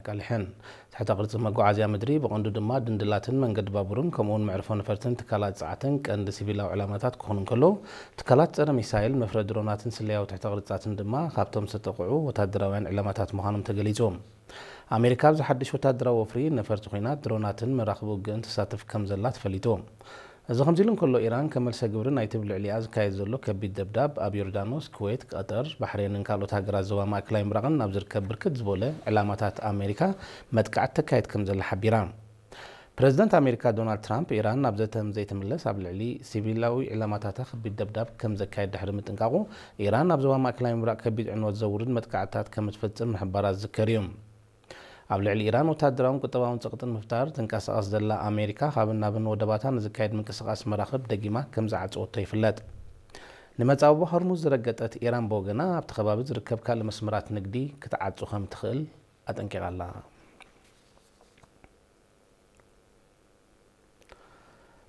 ኣቃሊሐን። ትሕተ ቅርጺ መጓዓዝያ ምድሪ፣ ብቐንዱ ድማ ድንድላትን መንገዲ ባቡርን፣ ከምኡውን መዕርፎ ነፈርትን ትካላት ጸዓትን ቀንዲ ሲቪላዊ ዕላማታት ክኾኑ እንከለዉ፣ ትካላት ጸረ ሚሳይል፣ መፍረ ድሮናትን ስለያዊ ትሕተ ቅርጻትን ድማ ካብቶም ዝተጠቕዑ ወታደራውያን ዕላማታት ምዃኖም ተገሊጹ። ኣሜሪካ ኣብዚ ሓድሽ ወታደራዊ ወፍሪ፣ ነፈርቲ ኲናት፣ ድሮናትን መራኽብ ውግእን ትሳተፍ ከም ዘላ ተፈሊጡ። እዚ ከምዚ ኢሉ እንከሎ፣ ኢራን ከም መልሰ ግብሪ ናይቲ ኣብ ልዕሊኣ ዝካየድ ዘሎ ከቢድ ደብዳብ፣ ኣብ ዮርዳኖስ፣ ኩዌት፣ ቀጠር፣ ባሕሬንን ካልኦት ሃገራት ዞባ ማእከላይ ምብራቕን ኣብ ዝርከብ ብርክት ዝበለ ዕላማታት ኣሜሪካ መጥቃዕቲ ተካይድ ከም ዘላ ሓቢራ። ፕረዚደንት ኣሜሪካ ዶናልድ ትራምፕ፣ ኢራን ናብ ዘተ ዘይትምለስ ኣብ ልዕሊ ሲቪላዊ ዕላማታታ ከቢድ ደብዳብ ከም ዘካየድ ድሕሪ ምጥንቃቑ፣ ኢራን ኣብ ዞባ ማእከላይ ምብራቕ ከቢድ ዕንወት ዘውርድ መጥቃዕትታት ከም እትፍጽም ምሕባራ ዝዝከር እዩ። ኣብ ልዕሊ ኢራን ወታደራውን ቁጠባውን ጸቕጥን ምፍጣር ትንቀሳቐስ ዘላ ኣሜሪካ፣ ካብን ናብን ወደባታ ንዝካየድ ምንቅስቓስ መራኽብ ደጊማ ከም ዝዓጸወቶ ይፍለጥ። ንመጻብቦ ሆርሙዝ ዝረገጠት ኢራን ብወገና፣ ኣብቲ ከባቢ ዝርከብ ካልእ መስመራት ንግዲ ክትዓጹ ከም ትኽእል ኣጠንቂቓ ኣላ።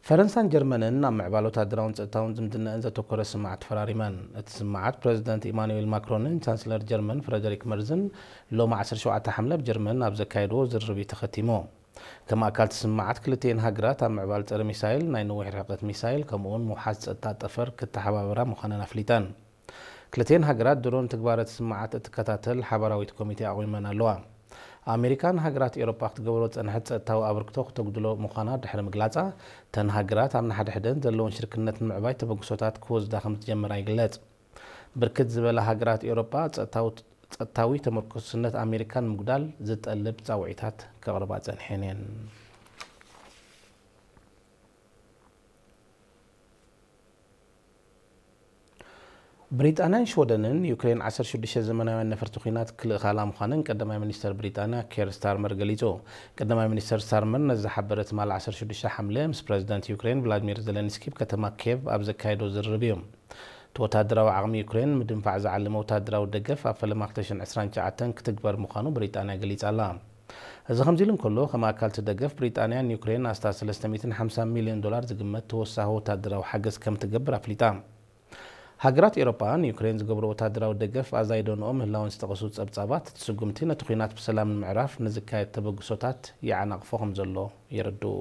ፈረንሳን ጀርመንን ኣብ ምዕባለ ወታደራውን ጸጥታውን ዝምድናኣን ዘተኮረ ስምምዓት ተፈራሪመን። እቲ ስምምዓት ፕረዚደንት ኢማኑኤል ማክሮንን ቻንስለር ጀርመን ፍረደሪክ መርዝን ሎሚ ዓሰርተ ሸውዓተ ሓምለ ኣብ ጀርመን ኣብ ዘካየድዎ ዝርርብ እዩ ተኸቲሙ። ከም ኣካል እቲ ስምምዓት ክልቲኤን ሃገራት ኣብ ምዕባለ ጸረ ሚሳይል፣ ናይ ነዊሕ ርሕቀት ሚሳይል ከምኡውን ምውሓስ ጸጥታ ጠፈር ክተሓባበራ ምዃነን ኣፍሊጠን። ክልቲኤን ሃገራት ድሮን ትግባረ እቲ ስምምዓት እትከታተል ሓባራዊት ኮሚቴ ኣቑመን ኣለዋ። ኣሜሪካ ንሃገራት ኤውሮጳ ክትገብሮ ዝጸንሐት ጸጥታዊ ኣበርክቶ ክተጉድሎ ምዃና ድሕሪ ምግላጻ፣ እተን ሃገራት ኣብ ንሓድሕደን ዘለወን ሽርክነት ንምዕባይ ተበግሶታት ክወስዳ ከም ዝጀመራ ይግለጽ። ብርክት ዝበላ ሃገራት ኤውሮጳ ጸጥታዊ፣ ጸጥታዊ ተመርኮስነት ኣሜሪካ ንምጉዳል ዝጠልብ ጻውዒታት ከቕርባ ጸኒሐን እየን። ብሪጣንያን ሽወደንን ዩክሬን ዓሰርተ ሽዱሽተ ዘመናውያን ነፈርቲ ኲናት ክልእኻላ ምዃነን ቀዳማይ ሚኒስተር ብሪጣንያ ኬር ስታርመር ገሊጹ። ቀዳማይ ሚኒስተር ስታርመር ነዚ ዝሓበረ ትማሊ ዓሰርተ ሽዱሽተ ሓምለ ምስ ፕረዚደንት ዩክሬን ቭላድሚር ዘለንስኪ ኣብ ከተማ ኬቭ ኣብ ዘካየዶ ዝርርብ እዩ። እቲ ወታደራዊ ዓቕሚ ዩክሬን ንምድንፋዕ ዝዓለመ ወታደራዊ ደገፍ ኣብ ፈለማ ክልተ ሽሕን ዕስራን ትሽዓተን ክትግበር ምዃኑ ብሪጣንያ ገሊጻ ኣላ። እዚ ከምዚ ኢሉ እንከሎ፣ ከም ኣካል እቲ ደገፍ ብሪጣንያ ንዩክሬን ኣስታት ሰለስተ ሚእትን ሓምሳን ሚልዮን ዶላር ዝግመት ተወሳኺ ወታደራዊ ሓገዝ ከም ትገብር ኣፍሊጣ። ሃገራት ኤውሮጳ ንዩክሬን ዝገብሮ ወታደራዊ ደገፍ ኣዛይደንኦ ምህላወን ዝጠቐሱ ጸብጻባት፣ እቲ ስጉምቲ ነቲ ኲናት ብሰላም ንምዕራፍ ንዝካየድ ተበግሶታት ይዓናቕፎ ከም ዘሎ የረድኡ።